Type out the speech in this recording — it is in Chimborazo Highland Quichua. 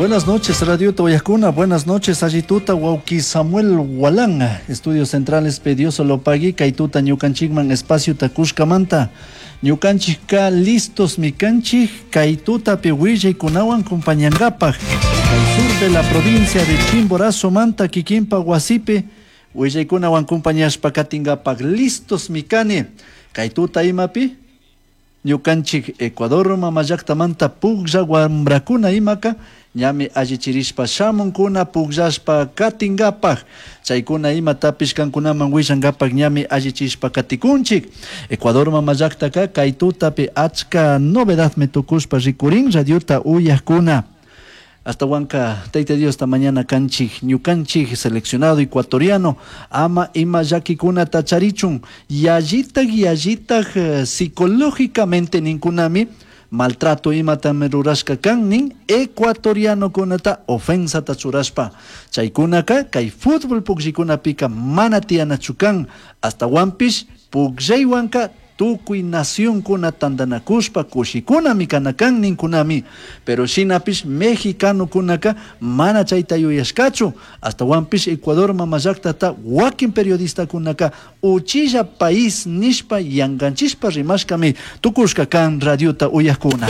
Buenas noches, Radio Uyajkuna. Buenas noches, Allituta, Wauki Samuel Walán. Estudios Centrales Dios lo pague, kay tuta ñukanchikman espacio takushkamanta. Ñukanchikka listos mikanchik, kay tutapi willaykunawan compañangapaj. Kay sur de la provincia de Chimborazo manta kikinpa wasipi, willaykunawan compañashpa katingapaj listos mikani. Kay tuta imapi? Ñukanchik Ecuador mama llaktamanta puklla wamrakuna imaka ñami allichirishpa shamunkuna pukllashpa katingapaj chaykuna imatapish kankunaman willankapak ñami allichishpa katikunchik. Ecuador mama llaktaka kay tutapi achka novedadmi tukushpa rikurin radiota uyajkuna. Hasta Tayta Diosta mañana kanchik ñukanchik seleccionado ecuatoriano ama ima llakikunata charichun yallitak yallitak psicológicamente ninkunami maltrato imatami rurashka kan nin ecuatorianokunata ofensata churashpa chaykunaka kay fútbol pukllikunapika mana tiyanachu kan astawanpish pukllaywanka tukuy nacionkuna tantanakushpa kushikunami kana kan ninkunami pero shinapish mexicanokunaka mana chayta yuyashkachu astawanpish Ecuador mama llaktata wakin periodistakunaka uchilla país nishpa yankanchishpa rimashkami tukushka kan radiota uyajkuna.